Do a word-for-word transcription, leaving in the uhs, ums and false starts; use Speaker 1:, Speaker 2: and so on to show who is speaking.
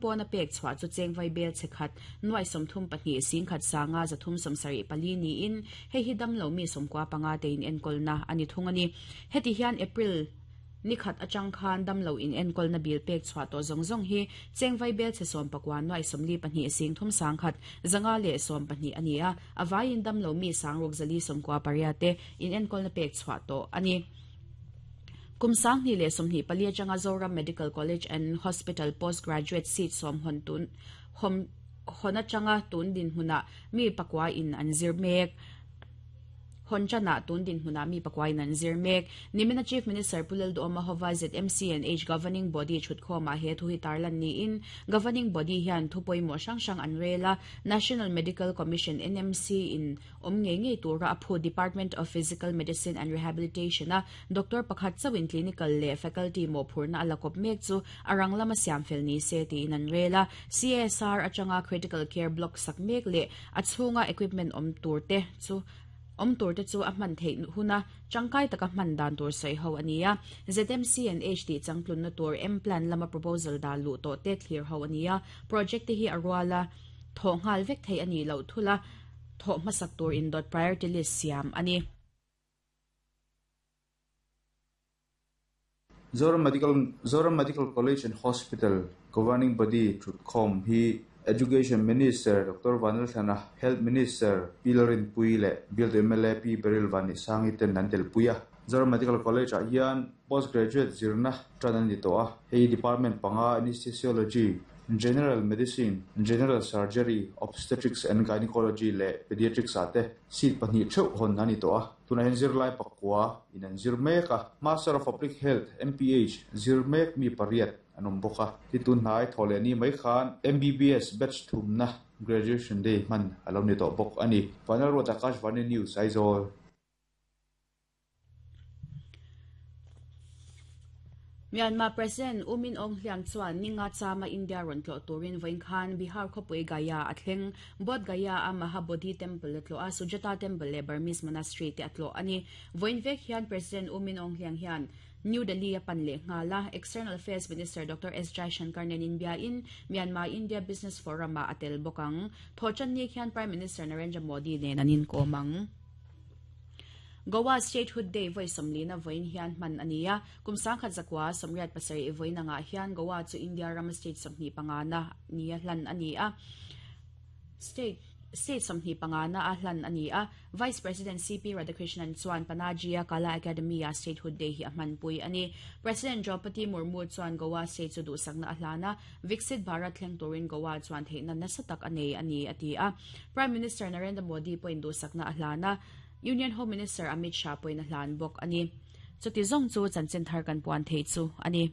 Speaker 1: Pawna pek chhuah chu cheng vai bel chekhat nuai sawmthum pahnih singkhat sanga zathum sawmsarih pali niin hei hi damlo mi sawmkua panga te in enkawlna ani thung ani. Heti hian April nikhat atang khan damlo in enkawlna bil pek chhuah tawh zawng zawng hi cheng vai bel che sawm pakua nuai sawmli pahnih singthum sangkhat zanga leh sawm pahnih ani a, avaiin damlo mi sangruk zali sawmkua pariat te in enkawlna pek chhuah tawh ani. Kum sangni leh sawmhnih pali atanga Zoram Medical College and Hospital postgraduate seat sawm hon tun hom hon atanga tun din hmuna mi pakua in an zir mek. Hon chana tun din hmuna mi pakua in an zir mek. Nimina Chief Minister Pu Lalduhoma hova Z M C and H governing body thutkhawma he thu hi tarlan niin governing body hian thu pawimawh hrang hrang an rela National Medical Commission N M C in awm ngei ngei tura a phu Department of Physical Medicine and Rehabilitation a Doctor pakhat chawin clinical leh faculty mo phurna ala kawp mek chu arang lama siam fel ni se tiin an rela C S R atanga critical care block sak mek leh a chhunga equipment awm tur te chu awm tur te chu a hman theih huna tangkai taka hman dan tur sawi ho ania. Z M C and H ti changtlun na tur M plan lama proposal da lu to te thlir ho ania. Project te hi a ruala thaw ngal vek thei ani lo thula thaw hmasak tur in dot priority list siam ani.
Speaker 2: Zoram Medical Zoram Medical College and Hospital governing body thutkhawm hi Education Minister Doctor Vanlalthlana, Health Minister P Lalrinpuii leh Bialtu M L A P Baryl Vanneihsangi ten an tel pui a. Zoram Medical College ah hian postgraduate zirna tan ani tawh a. Hei department panga anesthesiology, General Medicine, General Surgery, Obstetrics and Gynecology leh Pediatrics ah te seat pahnih theuh hawn ani tawh a. Tunah hian zirlai pakua in an zir mek a. Master of Public Health M P H zir mek mi pariat an awm bawk a. Ti tun hnai thaw leh ni mai khan M B B S batch thumna graduation day hman a lo ni tawh bawk ani. Vanal Ruat Akashvani News Aizawl.
Speaker 1: Myanmar President U Min Aung Hlaing chuan ninga chama India rawn tlawh turin vawiin khan Bihar khawpui Gaya a thleng. Bodh Gaya a Mahabodhi Temple a tlawh a, Sujata Temple leh Burmese Monastery te a tlawh ani. Vawiin vek hian President U Min Aung Hlaing hian New Delhi a pan leh nghala External Affairs Minister Doctor S Jaishankar nen India in Myanmar India Business Forum a atel bawk ang. Thawchan ni khian Prime Minister Narendra Modi nen an inkawm ang. Goa Statehood Day vawi sawmlina vawiin hian hman ania. Kum sangkhat zakua sawmriat pasarih vawiin anga hian Goa chu India ram state sawmhnih pangana nia hlan ania. State State sawmhnih pangana a hlan ania. Vice President C P Radhakrishnan chuan Panaji a Kala Academy a Statehood Day hi a hman pui ani. President Draupadi Murmu chuan Goa State chu duhsakna a hlana Viksit Bharat thleng turin Goa chuan theihna nasa tak anei ani ati a. Prime Minister Narendra Modi pawhin duhsakna a hlana Union Home Minister Amit Shah pawhin a hlan bawk ani. Chuti zawng chu chanchin thar kan puan thei chu ani.